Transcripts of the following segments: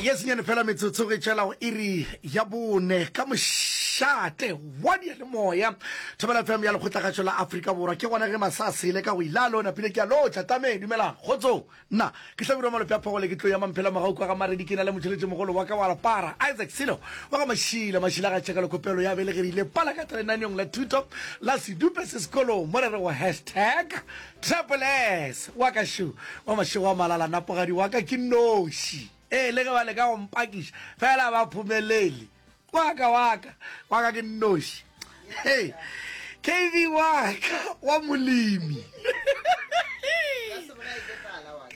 Ye senyane fela metsotso ge tšwela go iri ya bone ka mošate wa diyalemoya Thobela FM ya Lekgotlakgašo la Afrika Borwa. Ke gona ge masa a sele ka go ilalo napile ke a lotšha tameng dumelang kgotsong. Nna ke Hlabirwa Malope a Phogole ke tlo ya Mamphela Mogau kwa ga Maredi ke na le motšheletšemogolo wa ka wa Lepara Isaac Silo wa ga Mašila Mašila ga tšhekelo kopelo ya belegerile pala ka lenaneong la thuto la sedupe se sekolong mo re rego hashtag Triple S wa ka šo wa mašego a malala napogadi wa ka ke noši ee le ge ba leka go mpakiša fela ba phomelele wa ka wa ka wa ka ke nnoši hey kv wa ka wa molemi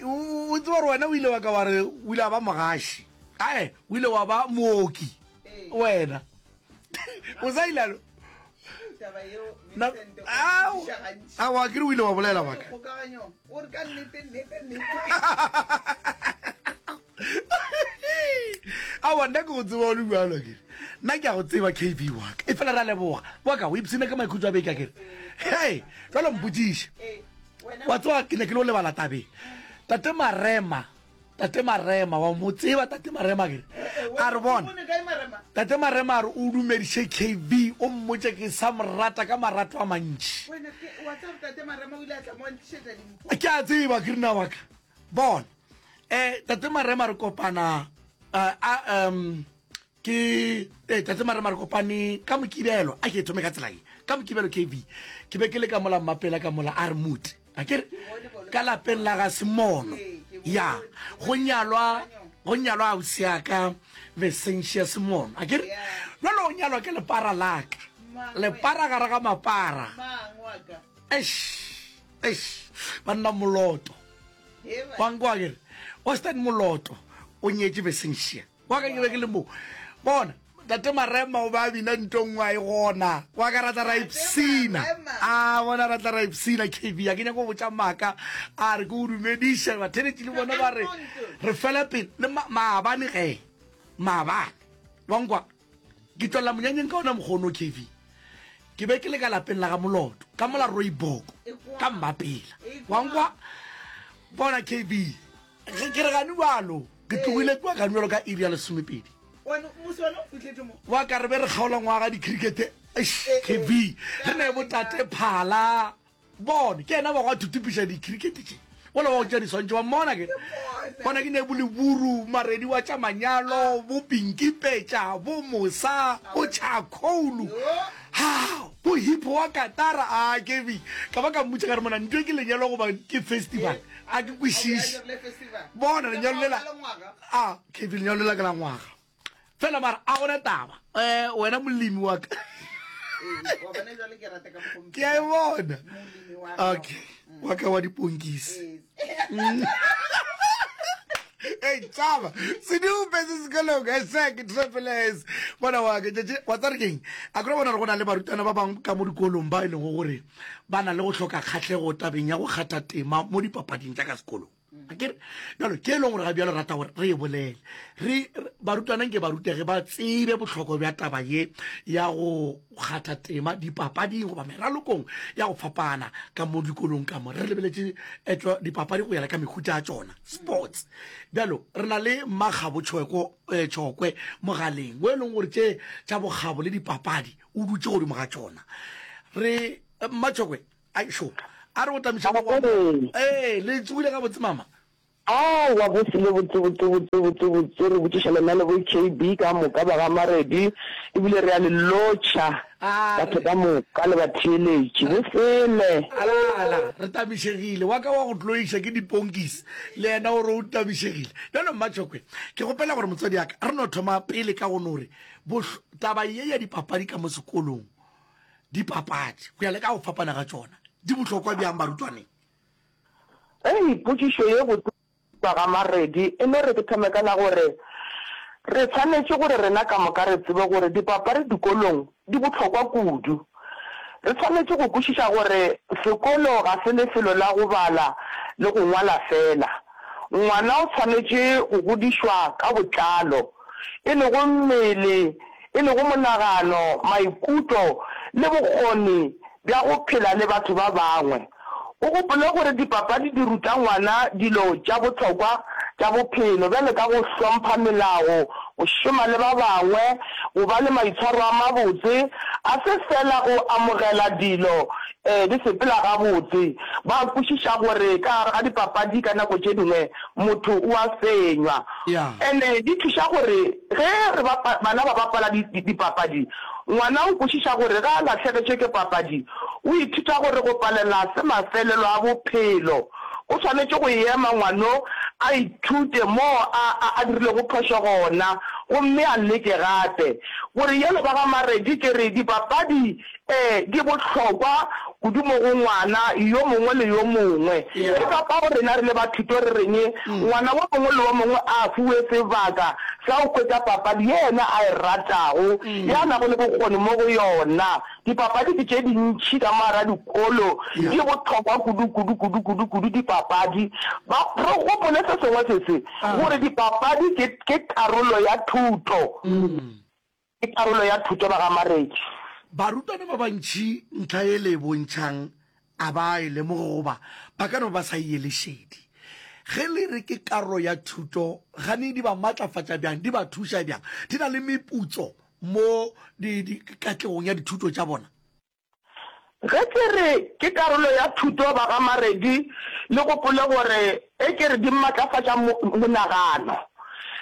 o tseba gore wena o ile wa ka wa re o ile wa ba mogaši ae o ile wa ba mooki wena o sa ilalo aowa ke re o ile wa bolela waka aowa nna ke go tseba o le bjalo kere nna ke a go tseba kb waka e fela ra leboga waka o ipshina ka maikhutso a beke a kere hei jalo mpotsiše wa tseba ke ne ke lo lebala tabeng tate marema Tate Marema, wa mo tseba Tate Marema ke a re bona. Tate Marema a re o dumediše KB o mmotše ke sa mo rata ka marato a mantši. Ke a tseba ke rina wa ka. Bona. Eh Tate Marema re kopana eh, a um Ke, ee, Tate Marema re kopane ka Mokibelo, a ke e thome ka tsela ye, ka Mokibelo KB, ke be ke le ka mola Mmapela ka mola a re mute, a ke re, ka lapeng la ga Semono, ya, go nyalwa, go nyalwa ausi ya ka Vesentia Semono, a ke re, jwale o nyalwa ke lepara la ka, lepara gare ga mapara, eish, eish, banna Moloto, wa nkwa ke re, Austin Moloto o nyetše Vesentia. Wa ka ke be ke le mo. Bona, Tate Marema o ba bina nto nngwe a e gona. Wa ka ra tla ra ipsina. A bona ra tla ra ipsina KB. A ke nyako go botša maaka. A re ke o dumediše batheletši le bona ba re re fela pele le maabane ge. Maabane. Wa nkwa? Ke tšwelela monyanyeng ka ona mokgono KB. Ke be ke le ka lapeng la ga Moloto, ka mola Rooiboko, ka Mmapela. Wa nkwa? Bona KB. Ge ke re gane bjalo, ke tlogile kua gane bjalo ka iri ya lesomepedi. Wa ka re be re kgaola ngwaga dikrikete, eish, KB, re ne botate Phala, bone, ke yena ba go a thuthupiša dikrikete tše. Wola wa go tšea diswantšho, wa mmona ke? Bona ke ne bo Leburu, Maredi wa tša manyalo, bo Pinky Petša, bo Mosa, bo Charcoal, ha, bo Hippo wa Katara, a KB, ka ba ka mmotša ka re mona ntwe ke lenyalo goba ke festival? A ke kwešiše. Bona lenyalo lela. A KB lenyalo lela ke la ngwaga. Fela mara a gona taba. Eh wena molemi wa ka. Ke a e bona. Okay. Wa ka wa diponkisi. Hey, tšaba sedupe se sekolong hashtag triple s bona wa ke tšatši wa tsare keng a kry bona re go na le barutwana ba bangwe ka mo dikolong ba e lego gore ba na le go hloka kgahlego tabeng ya go kgatha tema mo dipapading tša ka sekolong. Akere bjalo ke e leng gore ga bjalo rata gore re e bolele re barutwana nke ba rutege ba tsebe bohlokwa bja taba ye ya go kgatha tema dipapading goba meralokong ya go fapana ka mo dikolong ka mo re lebeletše etšwa dipapadi go yela ka mehuta ya tšona sports bjalo re na le Mmakgabo Tšhweko eh, Tšhokwe mogaleng o e leng gore tše tša bokgabo le dipapadi o dutše godimo ga tšona re Mmatšhokwe ai sho a re go tamiša mo ee le tsogile gabotse mama Aowa go sele botse botse botse botse botse re botšiša lena le bo KB ka moka ba ga Maredi ebile re a le lotšha batho ka moka le batheeletši bo sele. Ala ala re tamišegile wa ka wa go tloiša ke diponkisi le yena o re o tamišegile bjalo Mmatšhokwe ke kgopela gore motswadi ya ka re no thoma pele ka go no re taba ye ya dipapadi ka mo sekolong, dipapadi go ya le ka go fapana ga tšona, di bohlokwa bjang barutwaneng? Hei, potšišo ye botse ga Maredi, e no re ke thome ka la gore re swanetše gore rena ka moka re tsebe gore dipapadi dikolong di bohlokwa kudu. Re swanetše go kwešiša gore sekolo ga se lefelo la go bala le go ngwala fela. Ngwana o swanetše go godišwa ka botlalo, e lego mmele, e lego monagano, maikutlo le bokgoni bja go phela le batho ba bangwe. O gopole gore dipapadi di ruta ngwana dilo tša bohlokwa. tša bophelo bjalo ka go hlompha melao, go šoma le ba bangwe, go ba le maitshwaro a mabotse, a se feela go amogela dilo di sepela gabotse. Ba kwešiša gore ka gare ga dipapadi ka nako tše dingwe motho o a fenywa. Ene di thuša gore ge re bana ba bapala dipapadi, ngwana o kwešiša gore ge a lahlegetšwe ke papadi, o ithuta gore go palela se mafelelo a bophelo. O swanetše go ema ngwano a ithute moo a, a, a dirilego phošo gona, gomme a leke gape. Gore yelo ba ga Maredi ke re dipapadi e di bohlokwa kudu mo go ngwana yo mongwe le yo mongwe. Ke ka fao rena re le ba thuto re reng ngwana wo mongwe le wo mongwe a fiwe sebaka sa go hwetša papadi ye yena a e ratago, ye a nago le bokgoni mo go yona. Dipapadi ke tše dintši ka mo gara dikolo, di bohlokwa kudu, kudu, kudu, kudu, kudu dipapadi. Ba, re gopole se sengwe se se, gore dipapadi ke, ke karolo ya thuto. Ke karolo ya thuto ba ga Maredi. Barutwana ba bantši ntlha ye le e bontšhang a ba e lemoge goba ba ka no ba sa e ele šedi. Ge le re ke karolo ya thuto, gane di ba matlafatša bjang, di ba thuša bjang? Di na le meputso mo di, di, katlegong ya dithuto tša bona? Ge ke re ke karolo ya thuto ba ga Maredi le gopole gore e ke re di matlafatša mo, monagano.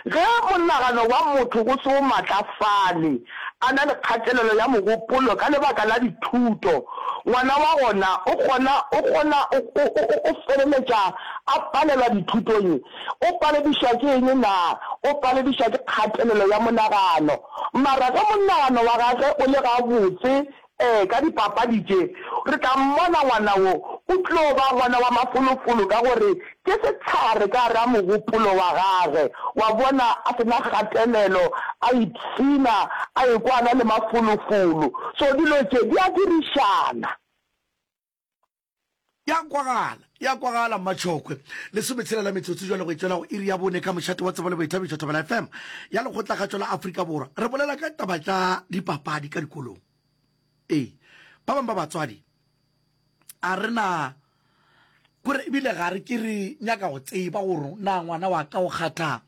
Ge monagano wa motho o se o matlafale, a na le kgatelelo ya mogopolo ka lebaka la dithuto, ngwana wa gona o kgona, o kgona, o, o, o, o feleletša a palelwa dithutong. O paledišwa ke eng na? O paledišwa ke kgatelelo ya monagano. Mara ge monagano wa gagwe o le gabotse, ee, ka dipapadi tše, re tla mmona ngwana wo, o tlo ba ngwana wa mafolofolo ka gore ke sehlare ka gare ga mogopolo wa gagwe. Wa bona, a se na kgatelelo, a ipshina, a ekwa a na le mafolofolo. So dilo tše di a dirišana. Ya kwagala, ya kwagala, Mmatšhokwe. Lesometshela la metsotso jwale go e tšwela go iri ya bone ka mošate wa tsebo le boithabišo Thobela FM ya Lekgotlakgatšo la Afrika Borwa. Re bolela ka taba tša dipapadi ka dikolong. Ee, ba bangwe ba batswadi a re na kore ebile ga re ke re nyaka go tseba gore na ngwana wa ka o kgatha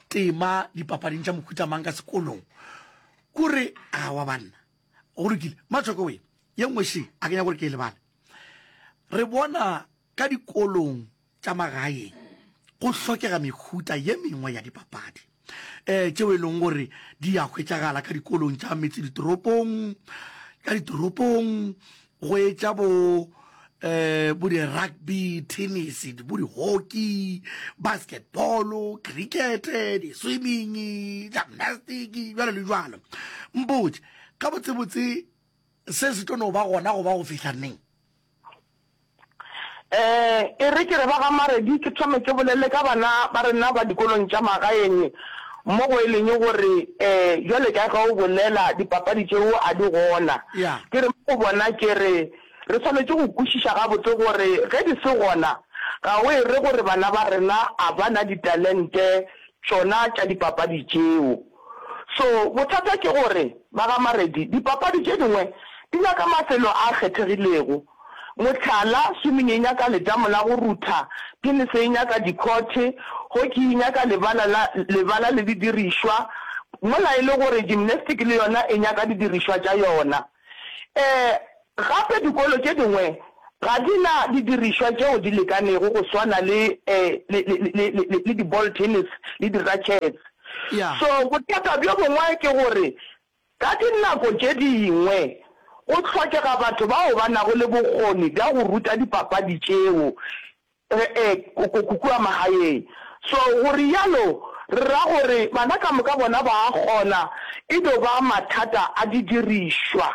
tema dipapading tša mohuta mang ka sekolong. Kore awa banna, go lokile. Mmatšhokwe we, ye nngwe še a ke nyaka gore ke e lebale. Re bona ka dikolong tša magaeng go hlokega mehuta ye mengwe ya dipapadi um tšeo e leng gore di a hwetšagala ka dikolong tša metse ditoropong, ka ditoropong go etša bo um bo di-rugby, tennis, bo di-hockey, basketball, cricket, di-swimming, gymnastic, bjalo le bjalo. Mpotše, gabotsebotse Se se tlo no ba gona go ba go fihla neng? E, e re ke re ba ga Maredi ke thome ke bolele ka bana ba rena ba dikolong tša magaeng mo go e leng gore e, bjale ka ge o bolela dipapadi tšeo a di gona. Ke re mo go bona ke re re swanetše go kwešiša gabotse gore ge di se gona ga o e re gore bana ba rena a ba na ditalente tšona tša dipapadi tšeo. So, bothata ke gore, ba ga Maredi, dipapadi tše dingwe di nyaka mafelo a kgethegilego. Mohlala, swimming e nyaka letamo la go rutha, tenese e nyaka dikhothe, hockey e nyaka lebala la lebala le didirišwa, mola e le gore gymnastic le yona e nyaka didirišwa tša yona. E, gape dikolo tše dingwe ga di na didirišwa tšeo di lekanego go swana le, le, le, le, le, le di-ball tennis le di-rackets. So, bothata bjo bongwe ke gore ka dinako tše dingwe go hlokega batho bao ba nago le bokgoni bja go ruta dipapadi tšeo E-e, kua magaeng. So, go rialo re ra gore bana ka moka bona ba a kgona, e do ba mathata a didirišwa.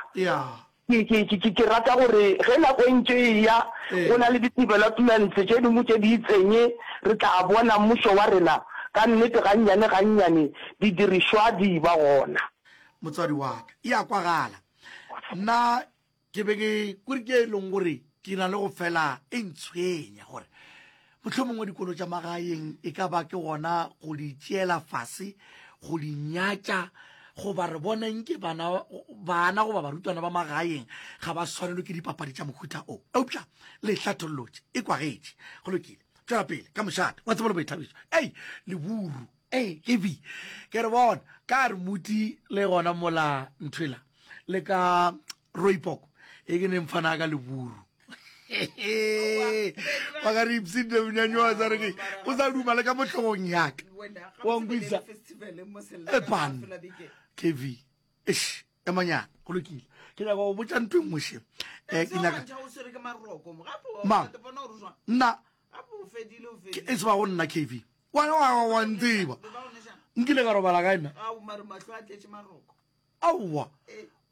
Ke, ke, ke, ke rata gore ge nako e ntše e eya, go na le di-developments tše dingwe tše di itseng, re tla bona mmušo wa rena ka nnete gannyane gannyane didirišwa di ba gona. Motswadi wa ka, e a kwagala. Nna Ke be ke kore ke e leng gore ke na le go fela e ntshwenya gore mohlomongwe dikolo tša magaeng e ka ba ke gona go di tšeela fase, go di nyatša, goba re bona nke bana, bana goba barutwana ba magaeng ga ba swanelwe ke dipapadi tša mohuta o. Eupša le hlathollotše, e kwagetše. Go lokile. Tšwela pele ka mošate wa tsebo le boithabišo. Ei, leburu. Ei, ke bi. Ke re bona, ka re muti le gona mola nthwela le ka Rooibok e ke neng fana ka leburu. Ba ka re ipsinde monyanya wa sa re ke o sa duma le ka mo hlogong ya ka. Wa nkwisa. E pan. KV. Eish, emanyana go lokile. Ke nyaka go botša ntho e nngwe še. Eh, ke nyaka Mang? Nna ke e tseba go nna KV. Wa wa wa ntseba. Nkile ka robala kae nna? Aowa.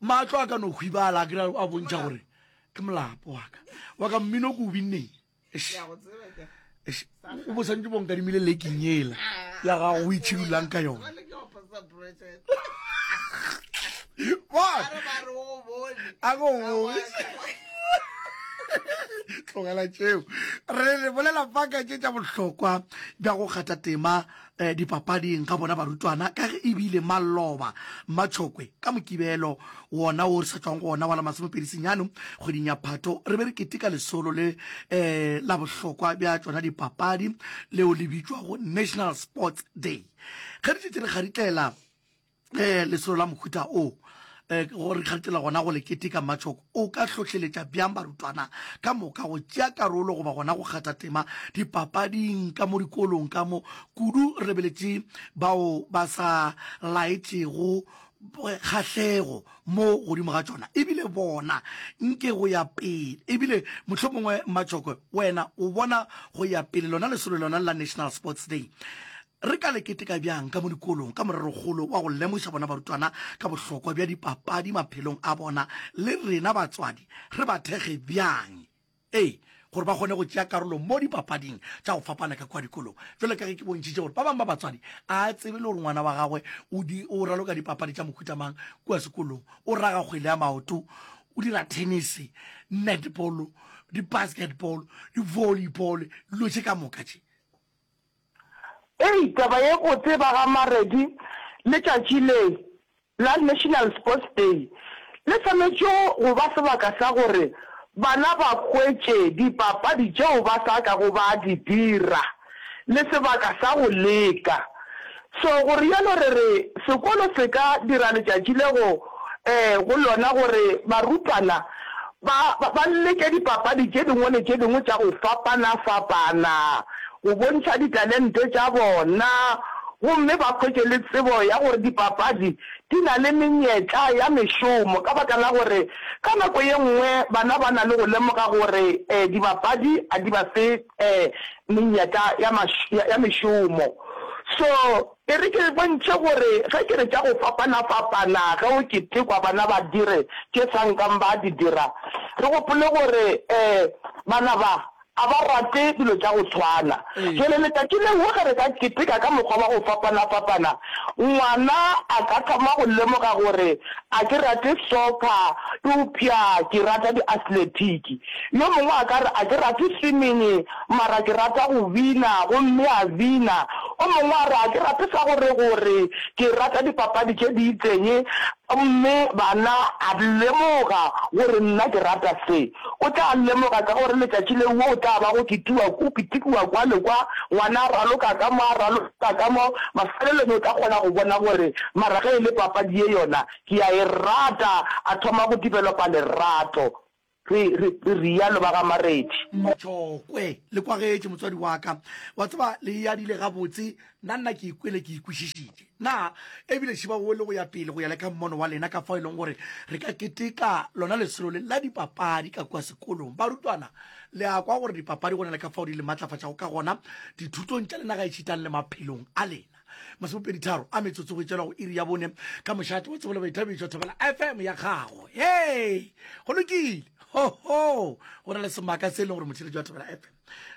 Mahlo a ka no hwibala a kry a bontšha gore ke molapo wa ka. Wa ka mmino ke o binneng. Eish. O bo santse bo nkadimile leking ela ya gago o itšhidulang ka yona. A go bone. Tlogela tšeo. Re re bolela fa ka tše tša bohlokwa bja go kgatha tema eh, dipapading ga bona barutwana ka ge ebile maloba Mmatšhokwe ka Mokibelo wona wo re sa tšwang go ona wa la masomepedi senyane kgweding ya Phato re be re keteka lesolo le eh, la bohlokwa bja tšona dipapadi leo le bitšwago National Sports Day. Ge re šetše re kgaritlela eh, lesolo la mohuta o eh, go re kgaritlela gona go le keteka Mmatšhoko, o ka hlohleletša bjang barutwana ka moka go tšea karolo goba gona go kgatha tema dipapading ka mo dikolong ka mo kudu re lebeletše bao ba sa laetšego kgahlego mo godimo ga tšona ebile bona nke go ya pele ebile mohlomongwe Mmatšhoko wena o bona go ya pele lona lesolo lona la National Sports Day Re ka le keteka bjang ka mo dikolong ka morerokgolo wa go lemoša bona barutwana ka bohlokwa bja dipapadi maphelong a bona le rena batswadi re ba thekge bjang ee gore ba kgone go tšea karolo mo dipapading tša go fapana ka kua dikolong? Bjalo ka ge ke bontšhitše gore ba bangwe ba batswadi a tsebe le gore ngwana wa gagwe o di o raloka dipapadi tša mohuta mang kua sekolong, o raga kgwele ya maoto, o dira tennis, netball, di-basketball, di-volleyball, dilo tše ka moka tše. Ei, taba ye botse ba ga Maredi, letšatši le la National Sports Day le swanetše go ba sebaka sa gore bana ba hwetše dipapadi tšeo ba sa kago ba di dira le sebaka sa go leka. So go realo re re sekolo se ka dira letšatši le go go lona gore barutwana ba ba leke dipapadi tše dingwe le tše dingwe tša go fapana-fapana go bontšha ditalente tša bona gomme ba hwetše le tsebo ya gore dipapadi di na le menyetla ya mešomo ka baka la gore ka nako ye nngwe bana ba na le go lemoga gore dibapadi a di ba fe menyetla ya ya mešomo. So, e re ke bontšhe gore ge ke re tša go fapana-fapana ge o ketekwa bana ba dire tše sa nkang ba di dira, re gopole gore bana ba a ba rate dilo tša go tshwana. Jwale letšatši leo ge re ka keteka ka mokgwa wa go fapana-fapana, ngwana a ka thoma go lemoga gore a ke rate soccer eupša ke rata di-athletiki. Yo mongwe a ka re, A ke rate swimming, mara ke rata go bina, gomme a bina. O mongwe a re, A ke rate sa gore-gore, ke rata dipapadi tše di itseng, gomme bana a lemoga gore nna ke rata se. O tla lemoga ka gore letšatši leo o tla ba go ketiwa, go ketikiwa kwa le kwa, ngwana a raloka ka mo, a raloka ka mo, mafelelong o tla kgona go bona gore mara ge e le papadi ye yona, ke a e rata, a thoma go developa lerato. Re, re, re rialo ba ga Maredi. Mmatšhokwe, Le kwagetše, motswadi wa ka. Wa tseba, le e adile gabotse. Nna, nna ke ikwele ke e kwešišitše. Na ebile šiba wo le go ya pele, go ya le ka mmono wa lena, ka fao e leng gore re ka keteka lona lesolo le la dipapadi ka kua sekolong. Barutwana, le a kwa gore dipapadi go na le ka fao di le matlafatšago ka gona dithutong tša lena gaešitang le maphelong a lena. Masomepeditharo a metsotso go tšwela go iri ya bone ka mošate wa tsebo le boithabišo Thobela FM ya gago. Hei, go lokile. Ho ho, go na le semaka se e leng gore motheletši wa Thobela FM.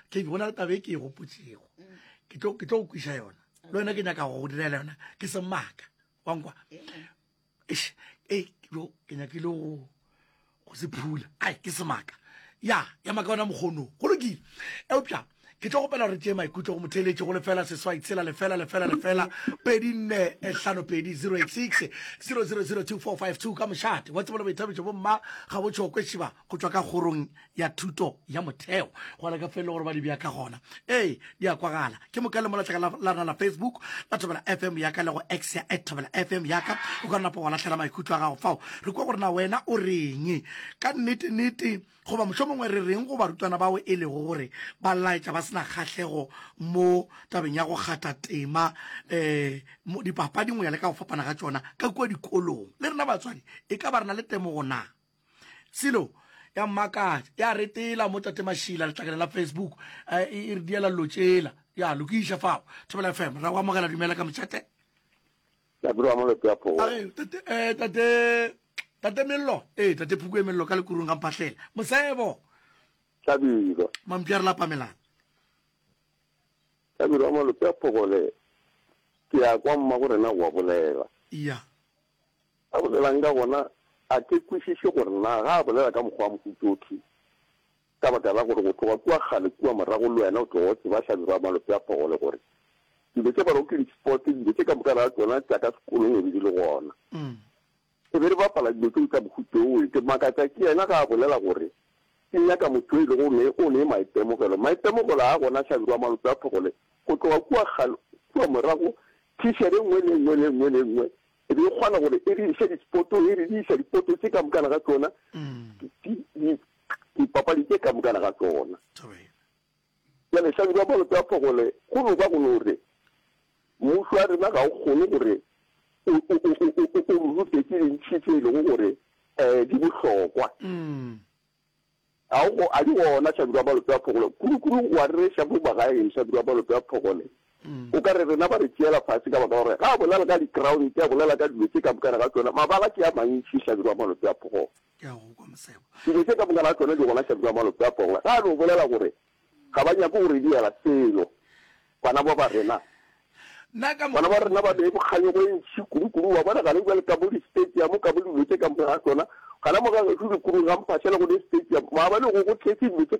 Ke go na le taba e ke e gopotšego. Ke tlo ke tlo go kwiša yona. Le wena ke nyaka go go direla yona. Ke semaka. Wa nkwa? Eish, ei, yo ke nyakile go go se phula. Ai, ke semaka. Ya, ya maka ona mokgono. Go lokile. Eupša. Ke tlo kgopela gore tšee maikutlo go motheeletši go lefela seswai tshela lefela lefela lefela pedi nne eh, hlano pedi 086 0002452 ka mošate wa tsebo le boithabišo bomma ga bo tšhokwe šiba go tšwa ka kgorong ya thuto ya motheo go ala ka felo gore ba di bja ka gona ee di a kwagala ke moka le molatlaka la rena la facebook la thobela fm yaka le go x ya at thobela fm yaka o ka napa wa lahlela maikutlo a gago fao re kwa gore na wena o reng ka nnete nnete Goba mohlomongwe re reng go barutwana bao e lego gore ba laetša ba se na kgahlego mo tabeng ya go kgatha tema um dipapading go ya le ka go fapana ga tšona ka kua dikolong? Le rena batswadi e ka ba re na le temogo na? Selo ya mmakatša ya retela mo Tate Mašila letlakaleng la Facebook e e re diela llo tšela ya lokiša fao. Thobela FM ra go amogela dumela ka mošate. Tate wa moloto ya phogo. Are tate eh tate tate mello eh tate phuku e mello ka lekurung ga mpahlela. Mosebo. Hlabirwa. Mampša re lapa melana. Hlabirwa wa moloto ya phogo le ke ya kwa mma go rena wa bolela. Iya. A bolelang ka gona a ke kwešiše gore na ga a bolela ka mokgwa wa mohutothi Ka baka la gore go tloga kua kgale kua morago le wena o tloga o tseba Hlabirwa Malope a Phogole gore dilo tše ba rego ke di-sports, dilo tše ka moka ga tšona tša ka sekolong e be di le gona. E be re bapala dilo tšeo tša mohuta wo. Ke makatša ke yena ge a bolela gore ke nyaka motho yo e lego ne o ne maitemogelo. Maitemogelo a gona Hlabirwa Malope a Phogole go tloga kua kgale kua morago thišere e nngwe le e nngwe le e nngwe le e nngwe e be e kgona gore e re iše di-sportong, e re di iša dipoto tše ka mokana ga tšona di, di, dipapadi tše ka mokana ga tšona. Bjale Hlabirwa Malope a Phogole go no ba go no re mmušo wa rena ga o kgone gore o, o, o, o, o, o re rute tše dintši tše e lego gore um di bohlokwa. Ga o go, a di gona Hlabirwa Malope a Phogole. Kudu-kudu wa rereša mo magaeng Hlabirwa Malope a Phogole. O ka re rena ba re tšeela fase ka baka la gore ga a bolela ka di-ground, a bolela ka dilo tše ka mokana ga tšona, mabala ke a mantši Hlabirwa Malope a Phogole. Ke a go kwa Mosebo. Dilo tše ka moka ga tšona di gona Hlabirwa Malope a Phogole. Ga a no bolela gore ga ba nyake go re diela selo bana ba ba rena. Nna ka Bana ba rena ba ne kganyogo e ntši kudu-kudu. Wa bona gane bjale ka mo di-stadium, ka mo dilo tše ka moka ga tšona. Gana mo ga gešo dikurung ga Mphahlele go ne stadium. Maabane go go tletše dilo tše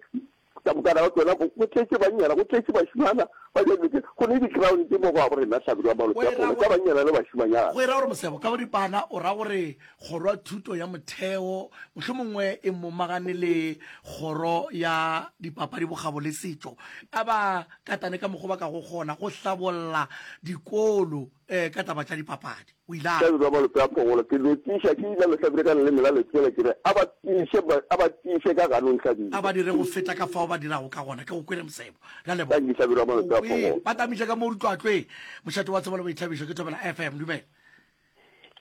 ka moka ga tšona. Go go tletše bannyana, go tletše bašemana ba ja dilo tše. Go ne di-ground mo go rena Hlabirwa Go Malope e a ra Phogole tša gore, bannyana le bašemanyana. go e ra gore Mosebo, ka boripana o ra gore Kgoro ya Thuto ya Motheo mohlomongwe e momagane le Kgoro ya Dipapadi, Bokgabo le Setšo, a ba katane ka mokgwa ba ka go kgona go hlabolla dikolo um ka taba tša dipapadi. O ile a re. Hlabirwa Malope a Phogolo, ke no tiiša ke ile Lehlabile ka leleme la letswele ke re a ba tiiše, a ba tiiše ka ganong Hlabirwa. A ba dire go feta ka fao ba dirago ka gona. Ke go kwele Mosebo. Re a leboga. Thank you Hlabirwa Malope O a kwele. Phogolo. Ba tamiša ka mo ditlwatlweng. Mošate wa tsebo le boithabišo ke Thobela FM. Dumela.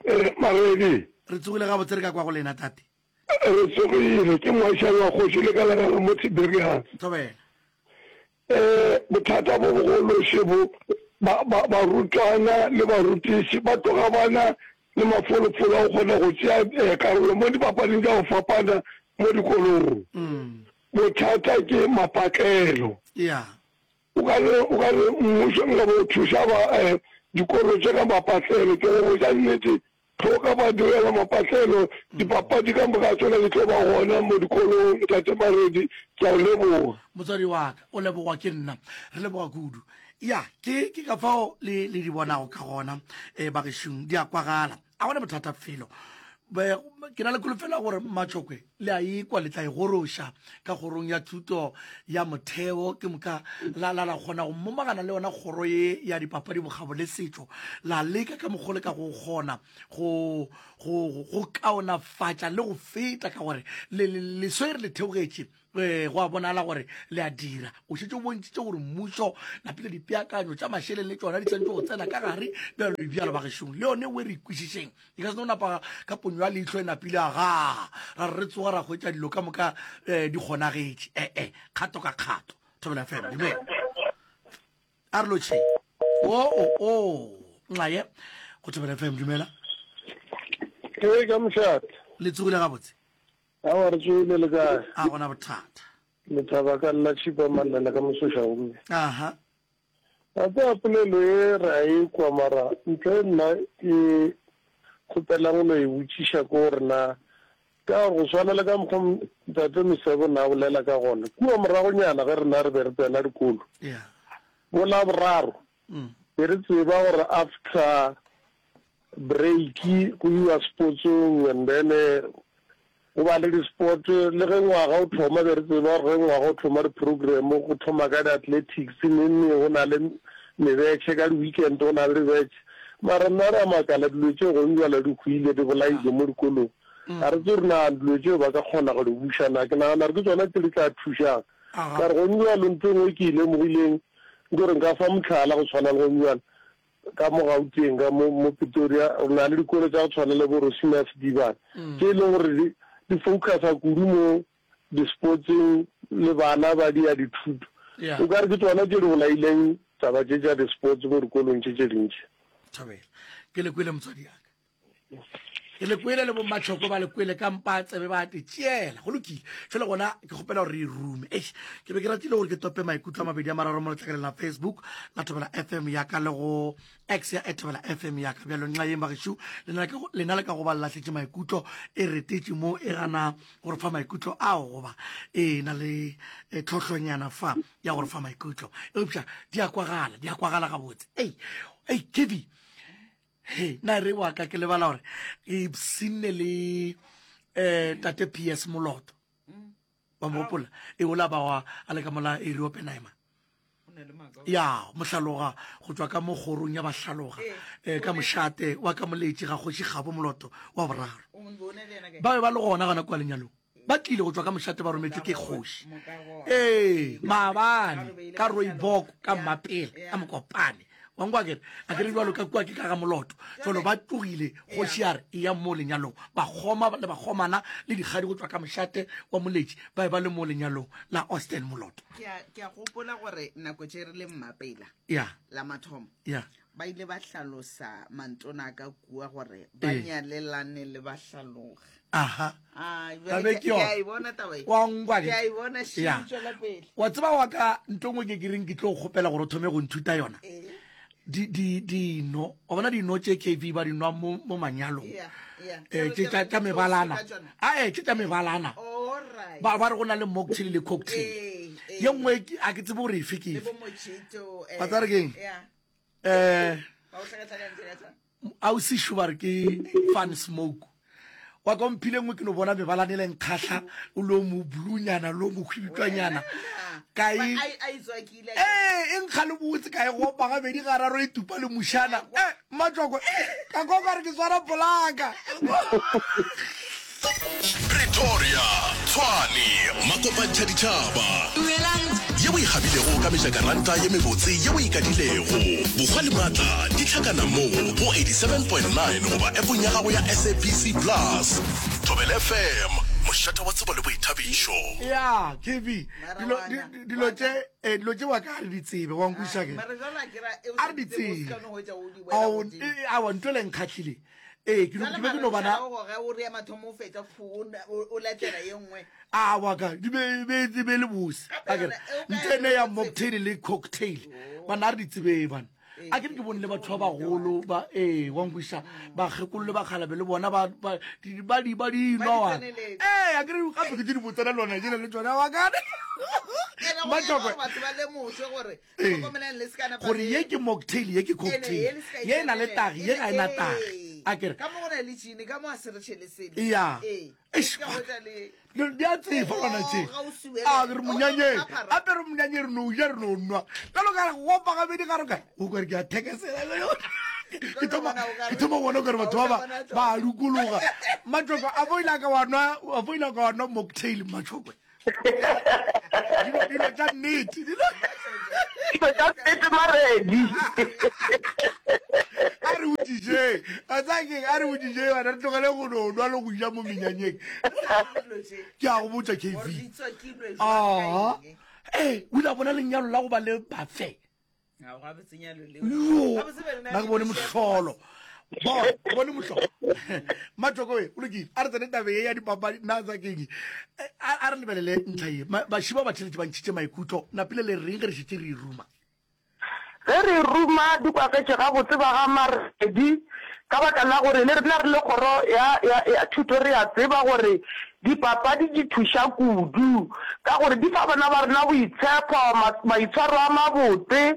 Eh, Maredi. Re tsogile gabotse re ka kwa go lena tate. Re tsogile, ke moašane wa kgoši le ka legala mo Tiberias. Thobela. Eh, bothata bo bogolo še bo, ba, ba, barutwana le barutiši ba tloga ba na le mafolofolo a go kgona go tšea eh, karolo mo dipapading tša go fapana mo dikolong. Mm. Bothata ke mapatlelo. Yeah. O ka re, o ka re mmušo nka bo thuša ba eh, dikolo tše ka mapatlelo. Ke go botša nnete, ge o ka ba direla mapatlelo, dipapadi ka moka tšona di tlo ba gona mo dikolong. Ntate Maredi, ke a o leboga. Motswadi wa ka, o lebogwa ke nna. Re leboga kudu. Ya, ke, ke ka fao le, le di bonago ka gona, eh, bagešong. Di a kwagala. A gona bothata felo. Ke na le kholofelo ya gore Mmatšhokwe le a ikwa le tla e goroša ka kgorong ya thuto ya motheo ke moka la la la kgona go momagana le yona kgoro ye ya dipapadi bokgabo le setšo la leka ka mokgwa le ka go kgona go go go kaonafatša le go feta ka gore le leswe re le theogetše Ee, go a bonala gore le a dira. O šetše o bontšhitše gore mmušo napile dipeakanyo tša mašeleng le tšona di swanetše go tsena ka gare bjalo le bjalo bagešong. Le yone we re ikwešišeng. E ka se no napa ka ponyo ya leihlo e napile agaa ra re re tsoga ra hwetša dilo ka moka um di kgonagetše. Ee, kgato ka kgato. Thobela FM, dumela. A re lotšheng. O o o nxaye go Thobela FM, dumela. Ee, ka mošate. Le tsogile gabotse? Aowa re tsoile le kae? A gona bothata. Lethaba ka lla tšhipa mallela ka mosoša gomme. Aha. Wa tseba polelo ye re a e kwa mara ntho e nna ke kgopelang go no e botšiša ke gore na. Ka gore go swana le ka mokgwa Ntate Mesebo na bolela ka gona, kua moragonyana ge rena re be re tsena dikolo, bo Laboraro, be re tseba gore after break go iwa sportsong and then go ba le di-sport. Le ge ngwaga o thoma be re tseba gore ge ngwaga o thoma di-program go thoma ka di-athletics, neng neng go na le mebetšhe, ka di-weekend go na le dibetšhe. Mara nna re a makala dilo tšeo gong bjale di hwile, di bolailwe mo dikolong. Ga re tsebe gore na dilo tšeo ba ka kgona go di buša na. Ke nagana gore ke tsona tše di tla thušang. Ka re gong bjalo ntho e nngwe ke e lemogileng ke gore nka fa mohlala go tshwana le gong bjalo ka mo Gauteng ka mo, mo Pretoria re na le dikolo tša go tshwana le bo Rosina Sedibane tše e leng gore di, di focusa kudu mo di-sportseng le bana ba di ya dithuto. O ka re ke tsona tše di bolaileng taba tše tša di-sports mo dikolong tše tše dintši. Thobela. Ke le kwele motswadi ya ka. Ke le kwele le bommatšhoko ba le kwele ka mpa tsebe ba te tšeela. Go lokile. Fela gona ke kgopela gore re e rume. Eish, ke be ke ratile gore ke tope maikutlo a mabedi a mararo mo letlakaleng la Facebook la Thobela FM ya ka le go X ya Thobela FM ya ka. Bjalo nxa yeng bagešo, lena le ka go ba le lahletše maikutlo e retetše mo e gana gore fa maikutlo ao goba e na le e, tlhohlonyana fa ya gore fa maikutlo. Eupša di a kwagala, di a kwagala gabotse. Ei, ei, Kevi, He, na re wa ka ke lebala gore ke ipshinne le um tate PS Moloto. Wa mo gopola? E ola ba wa a le ka mola area Oppenheimer. Ya, mohlaloga go tšwa ka mo kgorong ya bahlaloga eh, ka mošate wa ka moletši ga kgoši Kgabo Moloto wa boraro. Ba be ba le gona gona kua lenyalong. Ba tlile go tšwa ka mošate ba rometšwe ke kgoši. Ee, maabane ka Rooibok ka Mmapela ka Mokopane. Wa nkwa kere a kere jalo ka kua ke ka ga Moloto. Jalo ba tlogile kgoši ya re e ya mo lenyalong. Bakgoma le bakgomana le dikgadi go tšwa ka mošate wa Moletši ba be ba le mo lenyalong la Austin Moloto. Ke a ke a gopola gore nako tše re le Mmapela Ya. la mathomo Ya. ba ile ba hlalosa mantona ka kua gore ba Ee. nyalelane le bahlaloga. Aha. Ah, Taba bjale e ke ke yona. ke a e bona taba e. Wa nkwa Ke ke? a e bona še Ya. tšwela pele. Wa tseba wa ka nto nngwe ke ke reng ke tlo kgopela gore o thome go nthuta yona. Ee. Di di dino, wa bona dino tše KV ba di nwa mo mo manyalong. Yeah, yeah. Eh tše tša tša mebalana. A eh tše tša mebalana. All right. Ba ba re go na le mocktail le cocktail. Ee, ee. Ye nngwe ke- a ke tsebe gore efe ke Le efe. bo mojito, eh, Wa tseba re keng? Yeah. Eh Ba o hlakahlakantše ka tšona. A o sešo ba re ke fun smoke. Wa ka o mphile nngwe ke no bona mebalane le nkgahla o lo mo blunyana lo mo hwibitwanyana ka e ee e nkga le botse ka e gopa gabedi gararo e tupa le mušana e mmatšoko ka kwa ka re ke swara polaka Pretoria, Tshwane, Makopantšha ditšhaba. Dumelang. Ye o e gabilego ka mejakaranta ye mebotse ye o e kadilego. Bokgwa le maatla di hlakana mo go 87.9 goba appong ya gago ya SABC Plus. Thobela FM, mošate wa tsebo le boithabišo. Ya, KB, dilo, di, dilo tše, eh, dilo tše wa ka a re di tsebe, wa nkwešiša ke? A re di tsebe. Ao, eh, aowa, ntho e le nkgahlile. Ee, ke no- ke be ke no bana. A wa ka di be be di be le bose. A ke re ntho ene ya mocktail le cocktail. Bana a re di tsebe bana. A ke re ke bone le batho ba bagolo ba ee wa nkwešiša bakgekolo le bakgalabe le bona ba ba di ba di ba di nwa wa. Ee a ke re gape ke tse di botsana lona jela le tsona wa ka. Mmatšhokwe. Batho ba lemošwe gore Ee. Gore ye ke mocktail, ye ke cocktail. Ye e na le tagi, ye ga e na tagi. A ke re. Ka mo go na le tšine, ka mo a se re tšhele sele. Ya. Ee. Eish, Ka hwetša le- Di a tsefa lona tše. Oh, ga o suele. A re monyanyeng. Oh, phara. Gape re monyanyeng re no ja re no nwa. Jalo ka re go opa gabedi ga re kae. O kare ke a thekesela. Ke thoma ke thoma go bona o kare batho ba ba ba a dukologa. Mmatšhokwe a bo ile a ka wa nwa a bo ile a ka wa nwa mocktail Mmatšhokwe. Dilo dilo tša nnete. Dilo Dilo tša nnete Maredi. A re botšišeng. A tsaya keng? A re botšišeng bana re tlogele go no nwa le go ja mo menyanyeng. Ke a go botša KV. Aha. Ee, o ile a bona lenyalo la go ba le buffet. Yo, nna ke bone mohlolo. Bona, ke bone mohlolo. Matšoko we, o lokile. A re tsene tabeng ye ya dipapadi, nna tsa keng. A a re lebelele ntlha ye. Baši ba batheletši ba ntšhitše maikutlo. Napile le reng ge re šetše re e ruma? Ge re ruma di kwagetše gabotse ba ga Maredi. Ka baka la gore le rena re le kgoro ya, ya, ya thuto re a tseba gore dipapadi di thuša kudu, ka gore di fa bana ba rena boitshepo, ma, maitshwaro a mabotse,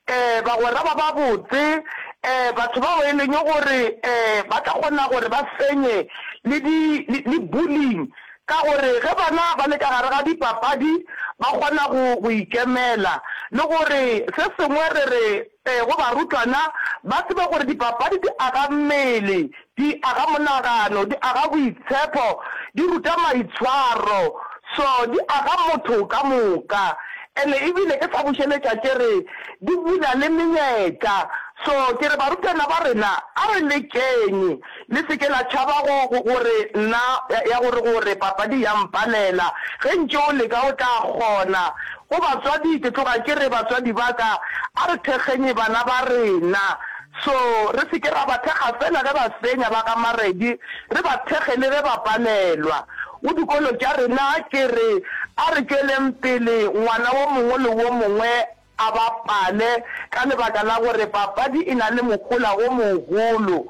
um bagwera ba babotse, um batho bao e leng gore um ba tla kgona gore ba fenye le di, le, le bullying. Ka gore ge bana ba le ka gare ga dipapadi ba kgona go, go ikemela. Le gore se sengwe re re go barutwana ba tsebe gore dipapadi di aga mmele, di aga monagano, di aga boitshepo, di ruta maitshwaro, so di aga motho ka moka. Ene ebile ke sa bušeletša ke re di bula le menyetla. So ke re barutwana ba rena a re lekeng, le se ke la tšhaba go, go, gore nna, ya, ya gore, gore papadi ya mpalela. Ge ntše o leka o tla kgona. Go batswadi, ke tloga ke re batswadi ba ka, a re thekgeng bana ba rena. So, re se ke ra ba thekga feela ge ba fenya ba ga Maredi, re ba thekge le ge ba palelwa. Go dikolo tša rena, ke re a re tšweleng pele ngwana wo mongwe le wo mongwe a bapale ka lebaka la gore papadi e na le mohola wo mogolo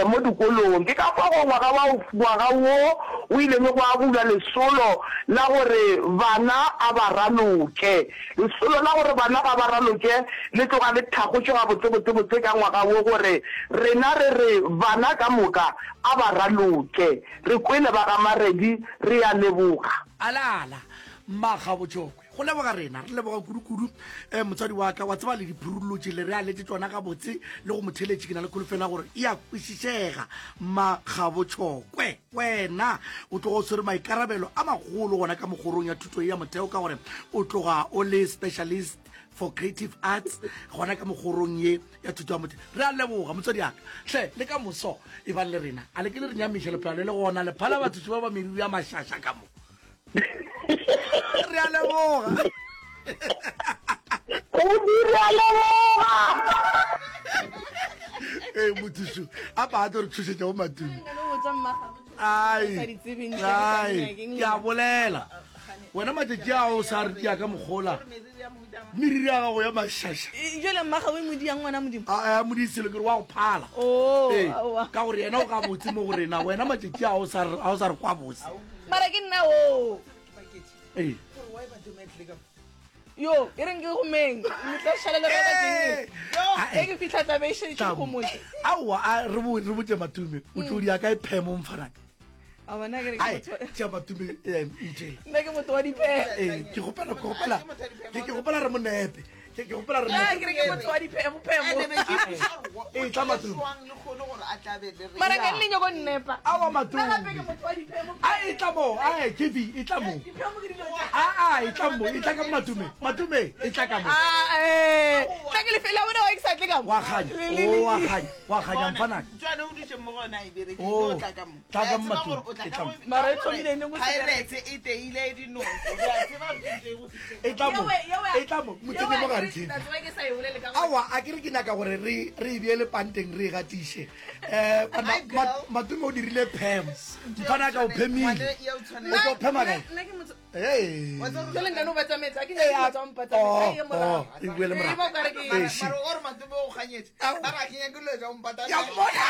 mo dikolong. Ke ka fao ngwaga wa ngwaga wo o ileng gwa bulwa lesolo la gore bana a ba raloke. Lesolo la gore bana ga ba raloke le tloga le thakgotšwe gabotsebotsebotse ka ngwaga wo gore rena re re bana ka moka a ba raloke. Re kwele ba ga Maredi, re a leboga. Alala, Mmakgabotšokwe. Go leboga rena, re leboga kudu-kudu um motswadi wa ka. Wa tseba le diphurulotše le re a letse tšona gabotse le go motheletše. Ke na le kholofelo ya gore e a kwešišega. Mmakgabotšhokwe, wena o tloga o tshwere maikarabelo a magolo gona ka mokgorong ya thuto ya motheo ka gore o tloga o le specialist for creative arts gona ka mokgorong ye ya thuto ya motheo. Re a leboga motswadi ya ka. Hle le ka moso e bang le rena. A le ke le re nyamiša lephelo le le gona le phala batho ba ba meriri ya mašaša ka mo. Re a leboga. Kudu re a leboga. Ee mothušu a pa a tlo re thušetša go matumi. Ai, ai, ke a bolela. Wena matšatši a o sa re dia ka mogola. Meriri ya gago ya mašaša. Jale mmaga o e modi yang ngwana modimo? A a modi selo ke re wa go phala. Oh, Ee, ka gore yena o gabotse mo go rena. Wena matšatši a o sa re a o sa re kwa bose. Mara ke nna o. Ee. Yo, e reng ke gomeng. Le tla šala le rata ke. Yo, e ke fihla tla be e šetše go motse. Aowa, a re bo re botše Matume, o tlo dia kae phemo mfanaka? A bona ke re ke motho. Tša Matume eh ntšela. Nna ke motho wa diphemo. Eh, ke gopela ke gopela. Ke ke gopela re mo nepe. Ke ke gopela re. Nna ke re ke motho wa diphemo phemo. Eh, tla Matume. Mara ke le nyoko nnepa. Aowa Matume. Nna gape ke motho wa diphemo. A e tla mo, a e KB e tla mo. Diphemo ke dilo tša. A a e tla mo, e tla ka Matume. Matume e tla ka mo. A eh, tla ke lefela bona wa ke sa tle ka mo. Wa kganya, o wa kganya, wa kganya mfanaka. Tšwane o dutše mo gona e bereke Oh, o tla ka mo. tla ka mo Re a tseba Matume, gore o tla e ka tla mo. go- Mara e ka gore thomile neng o se Pirates e teile dinoko. Re a tseba gore ke go fihleng. E tla mo, Yewe, yewe. e tla mo, mo tsenye mo gare KB. Tla tseba ke sa e bolele ka gore. Aowa, a ke re ke nyaka gore re re e beele panteng re e gatiše. Eh, banna, Hi, girl. Ma- Matume o dirile phem. Mfanaka o phemile. Ngwane ya o tshwanela. O tlo phema kae? Nna ke motho Hey. Wa tseba gore- Jale nna no ba tsamaetsa ke Eh, nyaka a- tswa mpatsa oh, e ye morago. oh, e boele Eh, morago. ba o ka re ke- Eh, Mara shi. mara o re Matume o kganyetše. Ao. Ba re a ke nyake dilo tša go mpata. Ke a mmona.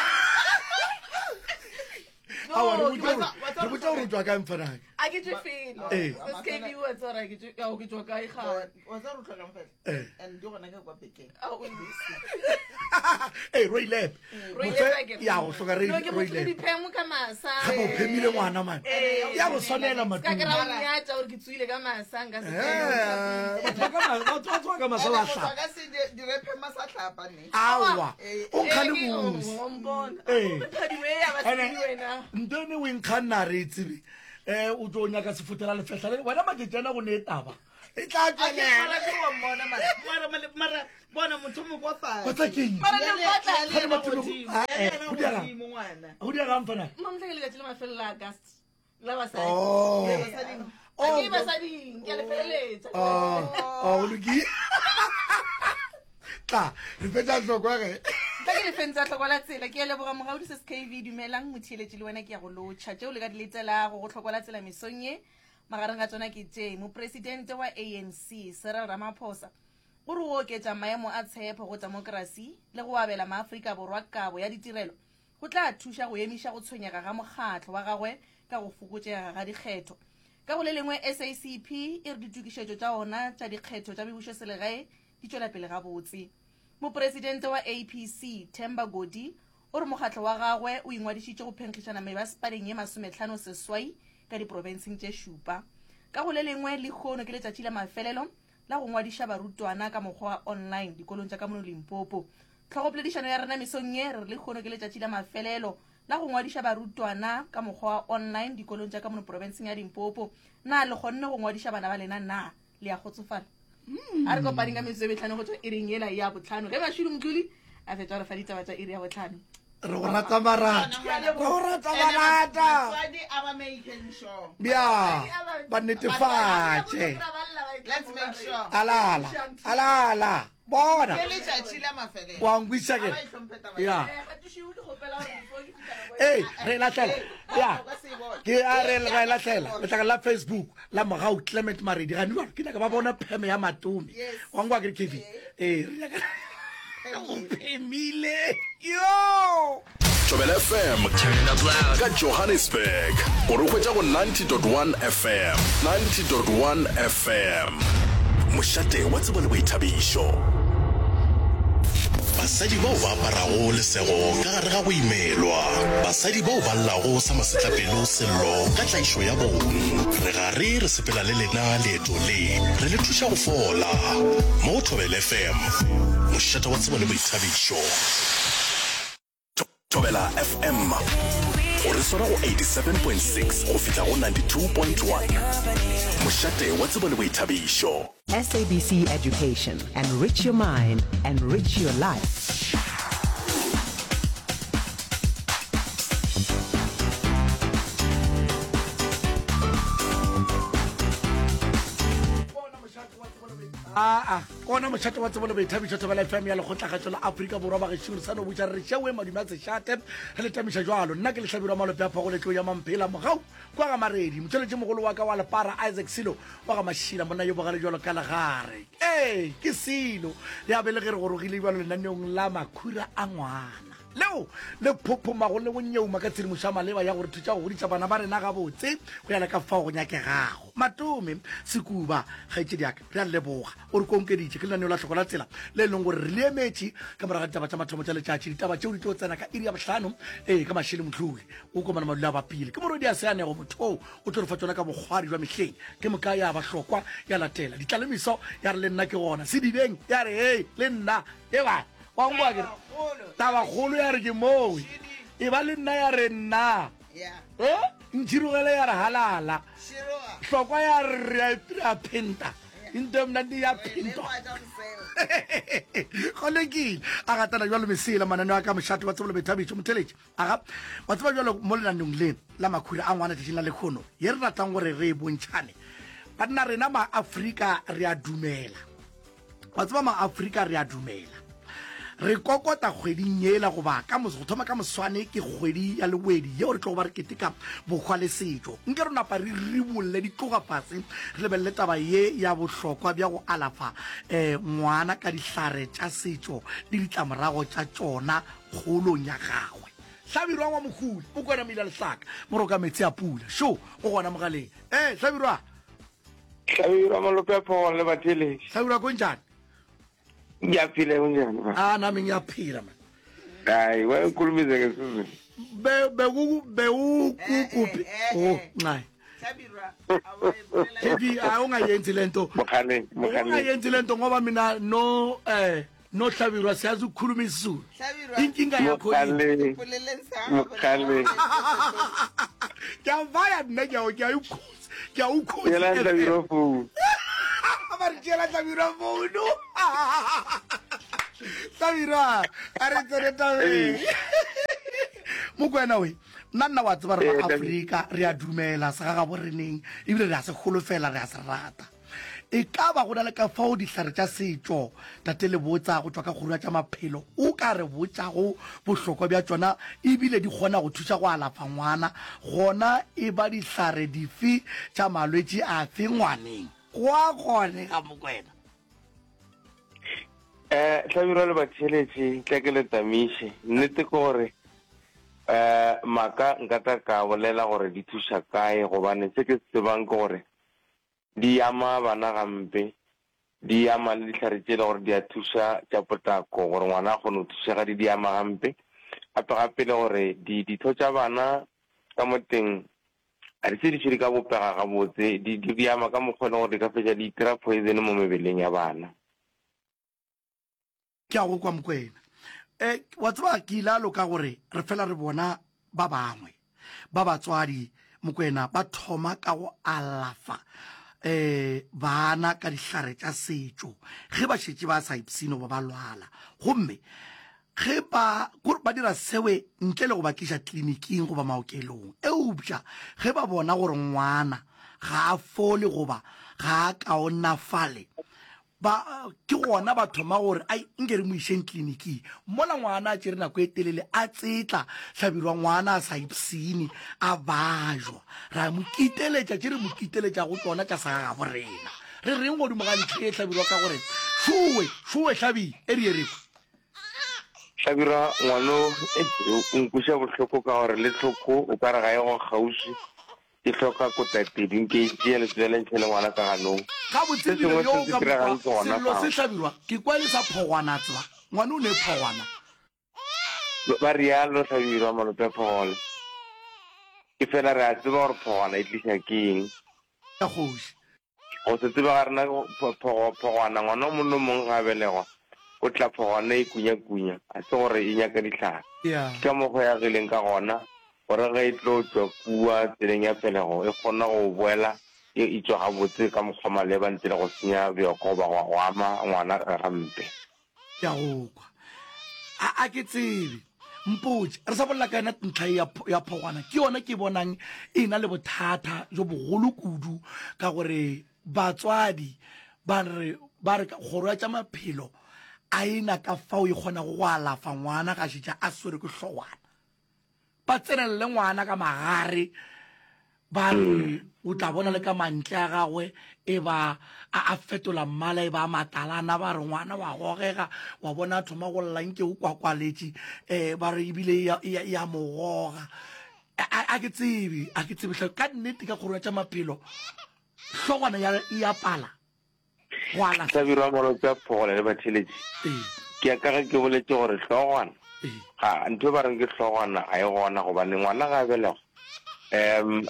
No, Aowa, re ke botse gore- wa tseba re botse gore o tswa kae mfanaka. A ke tšwe felo. Eh. Se KB wa tseba gore ke tšwe ao ke tšwa kae ga. Wa tseba gore o tlhokang fela. Eh. And di gona ka kwa bekeng. Ao, o- Ee, Roy Lab. Roy Mofe- Lab a ke re. ya go hloka Roy- No, ke Roy motho le Lab. diphemo ka masa. Gape o phemile ngwana man. Eh. Ya go swanela Ska ke ra o Matume. nyatša gore ke tsoile ka masa nka se Eh, batho ba ka ma- batho ba tsoga ka masa And ba motho a hlapa. ka se dire phema sa hlapa ne. Aowa, Eh, o nkga le Eh, ke- bose. o mpona. Eh. Phadiwe ya basadi Ene, wena. nto ene o enkga nna re e tsebe um o tlo nyaka sefotela lefehla le wena matšatši go ne e taba e tla A ke tswelela mara ke wa mmona mara. Mara mara- mara bona motho mo kwa fatshe. Wa tsa keng? Mara le mpatla. Ya le Kgane yena batho le- godimo, Ah, ya le eh, yena go diega. godimo ngwana. go diega mfanaka Mamtla ke letšatši la mafelelo la August. La basadi. Oh. Eh, Basading. A ke basading, ke a le feleletša. Oh, oh, go lokile tla re fetsa hlokwa ge Tla ke lefeng tsa tlhoko la tsela ke a leboga mogaudi se SKV dumelang motheeletši le wena ke ya go lotšha tšeo le ka di letelago go tlhoko la tsela mesong ye magareng ga tsona ke tše mopresidente wa ANC Cyril Ramaphosa o re go oketša maemo a tshepo go temokrasi le go abela maafrika borwa kabo ya ditirelo. go tla thuša go emiša go tshwenyega ga mokgatlo wa gagwe ka go fokotšega ga dikgetho. Ka go le lengwe, SACP e re ditokišetšo tša ona tša dikgetho tša mebušoselegae di tšwela pele gabotse. Mopresidente wa APC, Themba Godi, o re mokgatlo wa gagwe o ingwadišitše go phenkgišana mebasepaleng ye masometlhano seswai ka diprofenseng tše šupa. Ka go le lengwe, lehono ke letšatši la mafelelo la go ngwadiša barutwana ka mokgwa wa online dikolong tša ka mono Limpopo. Tlhogopoledišano ya rena mesong ye re re lehono ke letšatši la mafelelo la go ngwadiša barutwana ka mokgwa wa online dikolong tša ka mono profenseng ya Limpopo. Na le kgonne go ngwadiša bana ba lena? Na le a kgotsofala? A re kopaneng ka metsotso e metlhano go tšwa iring yela ya botlhano ge Mashudu Mdluli a fetša go re fa ditaba tša iri ya botlhano. Re go rata barata. Re go rata barata. Bja ba netefatše. Alala. Alala. Bona. Wa nkwiša ke. Ya. Ee, re lahlela. Ya. Ke a re re lahlela. Letlakala la Facebook la Mogau Clement Maredi. Ga nwa ke nyaka ba bona pheme ya Matome. Wa nkwa ke re Kevin. Ee, re nyaka o phemile. Yo! Thobela FM ka Johannesburg o re hwetša go 90.1 FM 90.1 FM Mošate wa tsebo le boithabišo. Basadi bao ba aparago lesego ka gare ga go imelwa. Basadi bao ba llago sa masetlapelo sello ka tlaišo ya bong. Re gare re sepela le lena leeto le, re le thuša go fola. Mo go Thobela FM, mošate wa tsebo le boithabišo. Thobela FM o re swara go 87.6 go fihla go 92.1. Mošate wa tsebo le boithabišo. SABC Education, enrich your mind, enrich your life. Aa, ke ona mošate wa tsebo le boithabišo Thobela FM ya Lekgotlakgatšo la Afrika Borwa. Bagešo re sa no botša re re šeoe madume a sešate re le tamiša jwalo. Nna ke Lehlabirwa Malope a Phogoletlo ya Mamphela Mogau kwa ga Maredi. Motšweletšimogolo wa ka wa Lepara Isaac Silo wa ga Mašila monna yo bogale jwalo ka legare. Ee, ke Silo. Ya be le ge re gorogile jwalo lenaneong la Makhura a Ngwana leo le phophomago le go nyeuma ka tshedimošo ya maleba ya go re thuša go godiša bana ba rena gabotse go ya le ka fao go nyakegago. Matome Sekuba, kgaetšedi ya ka, re a leboga. O re konkeditše. Ke lenaneo la Hloko la Tsela le e leng gore re le emetše ka morago ga ditaba tša mathomo tša letšatši. Ditaba tšeo di tlo tsena ka iri ya bohlano, ee, ka Mashele Mohlodi. O komana madula a bapile. Ke morwedi a seanego motho oo o tlo re fa tšona ka bokgwari bja mehleng. Ke moka ya ba hlokwa ya latela. Ditlalemiso ya re le nna ke gona. Sedibeng ya re hei le nna. Eba wa nkwa ke re tabakgolo ya re ke mowe. Eba le nna ya re nna. Eh? Ntšhirogele ya re halala. Hlokwa ya re re a phenta. Into e mnandi ya phentwa. Go lokile. A gatana jwalo mesela mananeo a ka mošate wa tsebo le boithabišo. Motheletši. Aga, wa tseba jwalo mo lenaneong le la makhura a ngwana tšatšing la lekhono ye re ratang gore re e bontšhane. Banna rena ma-Afrika re a dumela. Wa tseba ma-Afrika re a dumela. Re kokota kgweding yela goba ka go thoma ka moswane ke kgwedi ya Lewedi yeo re tlogo ba re keteka bohwa le setšo. Nke re napa re ribolle di tloga fase re lebelele taba ye ya bohlokwa bja go alafa um ngwana ka dihlare tša setšo le ditlamorago tša tšona kgolong ya gagwe. Hlabirwa wa Mohuli o kwena meila lehlaka moroka metsi a pula. Šo o gona mogaleng. Ee, Hlabirwa. Hlabirwa malope a phogong le batheeletši. Hlabirwa konjani? Ngiyaphila kunjani ba? Ah nami ngiyaphila man. Hayi wena ukhulumise ngesizulu. Be beku bewukuphi? Oh, nxai. KB hayi ungayenzi lento. Mokgaleng, mokgaleng. Ungayenzi lento ngoba mina no eh no Hlabirwa siyazi ukukhuluma isiZulu. Inkinga yakho yini? Mokgaleng. Ngiyavaya nna ngiyawo ngiyayukhuza. Ke a ukhuza. Tšeela Hlabirwa phone. Ba re tšeela Hlabirwa phone. Hlabirwa, a re tsene tabeng. Mokwena we, nna nna wa tseba re ba Afrika, re a dumela segagabo reneng, ebile re a se holofela, re a se rata. E ka ba go na le ka fao dihlare tša setšo, Tate Lebotsa go tšwa ka Kgoro ya tša Maphelo, o ka re botšago bohlokwa bja tšona e bile di kgona go thuša go alafa ngwana, gona e ba dihlare dife tša malwetši afe ngwaneng? Go a kgonega, Mokwena. Eh, Hlabirwa le batheeletši, tla ke le tamiše. Nnete ke gore. Eh, maaka nka tla ka bolela gore di thuša kae gobane se ke se tsebang ke gore di ama bana gampe, di ama le dihlare tše e le gore di a thuša tša potlako gore ngwana a kgone go thušega di di ama gampe. Gape gape le gore di ditho tša bana ka mo teng ga di se di di ka bopega gabotse, di di ama ka mokgwa e leng gore di ka fetša di itira poison mo mebeleng ya bana. Ke a go kwa Mokwena. E, wa tseba ke ile a loka gore re fela re bona ba bangwe ba batswadi Mokwena ba thoma ka go alafa eh bana ka dihlare tša setšo ge ba šetše ba sa ipshine goba ba lwala gomme ge ba kore ba dira sewe ntle le go ba tliša tleliniking goba maokelong eupša ge ba bona gore ngwana ga a fole goba ga a kaonafale Ba, ke gona ba thoma gore, Ai, nke re mo išeng kliniking. Mola ngwana a tšere nako e telele a tsetla, Hlabirwa ngwana a sa ipshine, a bajwa. Ra mo kiteletša, tše re mo kiteletšago tšona tša sa gabo rena. Re reng godimo ga ntlha ye, Hlabirwa, ka gore, Šowe, šowe, Hlabi, e re ye re kwe. Hlabirwa, ngwano, e, o nkweša bohloko ka gore le tlhoko o ka re ga e go kgauswi. Ke hloka kotatedi, nke e tšee letswele ntšhe le ngwana ka ganong. Gabotse Se ebile sengwe yo se se ka diregang mokgwa ke gona sello se fao. hlabirwa ke kwa e le sa phogwana tseba ngwana o ne phogwana. Ba realo Hlabirwa malope a Phogole. Ke fela re a tseba gore phogwana e tliša ke eng. Ya kgoši. Go se tsebe ga rena phogo, phogwana, ngwana o mongwe le o mongwe ge a belegwa, o tla phogwana e kunya-kunya, ga se gore e nyaka dihlare. Yeah. Ke ka mokgwa e agileng ka gona, gore ge e tlo tšwa kua tseleng ya pelego, e kgona go boela e e tšwa gabotse ka mokgwa maleba ntle le go senya bjoko goba go ama ngwana gampe. Ke a go kwa. A, a ke tsebe. Mpotše, re sa bolela ka yona ntlha ye ya, ya phogwana, ke yona ke bonang e na le bothata jo bogolo kudu, ka gore batswadi ba re, ba re kgoro ya tša maphelo a e na ka fao e kgonago go alafa ngwana ga šetša a swerwe ke hlogwana. Ba tsenelele ngwana ka magare, ba re o tla bona le ka mantle a gagwe e ba a a fetola mmala e ba matalana, ba re ngwana wa gogega, wa bona a thoma go lla nke o kwakwaletše, um ba re ebile e ya, e ya, e ya mo goga. A, a ke tsebe, a ke tsebe hle, ka nnete ka kgoro ya tša maphelo hlogwana ya, e ya pala. go alafa. Hlabirwa Molope a Phogole le batheeletši. Ee. Ke ya ka ge ke boletše gore hlogwana, Ee. ga, ntho e ba reng ke hlogwana ga e gona gobane ngwana ga a belegwa, um,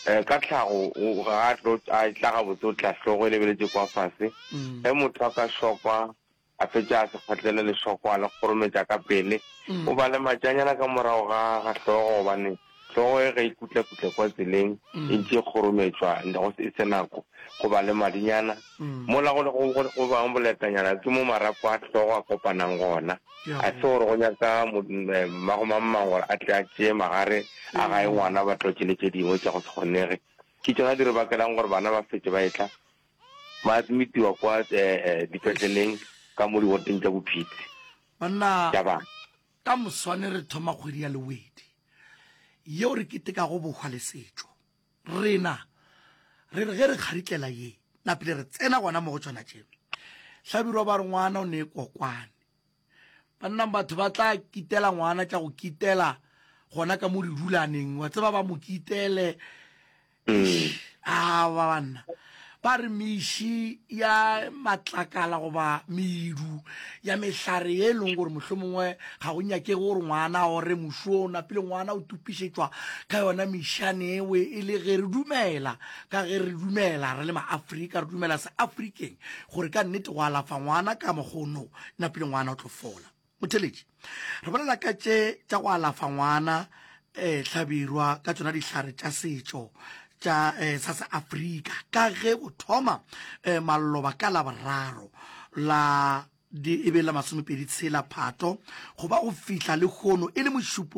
eh, ka tlhago o, ga a tlo, a tla gabotse o tla hlogo e lebeletše kwa fase. Mm. Ge motho a ka šokwa, a fetša a se kgotlele lešoko a le kgorometša ka pele, Mm. o ba le matšanyana ka morago ga, ga hlogo gobane hlogo e ge e kutla-kutla kwa tseleng Mm. e ntše e kgorometšwa go e se nako, go ba le madinyana. Mm. Mola go le go, go, go bang boletanyana ke mo marapo a hlogo a kopanang gona. Ke a A se go. gore go nyaka mo, eh, mmago mang-mang gore a tle a tšee magare a gae Mm. ngwana ba tlotše le tše dingwe tša go se kgonege. Ke tšona di re bakelang gore bana ba fetše ba etla Ba admitiwa kwa dipetleleng ka mo diwoteng tša bophitsi Banna, tša bana. ka moswane re thoma kgwedi ya Lewedi yeo re ketekago bohwa le setšo. Rena re re ge re kgaritlela ye, napile re tsena gona mo go tšona tše. Hlabirwa ba re ngwana o ne kokwane. Banna batho ba tla kitela ngwana tša go kitela gona ka mo didulaneng, wa tseba ba mo kitele. Aowa banna, ba re meši ya matlakala goba medu ya mehlare ye e leng gore mohlomongwe ga go nyakege gore ngwana a ore moši o napile ngwana o tupišetšwa ka yona mešane ewe e le ge re dumela ka ge re dumela re le maafrika re dumela seafrikeng gore ka nnete go alafa ngwana ka mokgono napile ngwana o tlo fola. Motheletši, re bolela ka tše tša go alafa ngwana eh, Hlabirwa ka tšona dihlare tša setšo tša eh, sa Seafrika ka ge go thoma eh, maloba ka Laboraro la di e be la masomepedi tshela Phato go ba go fihla lehono e le mošupologo.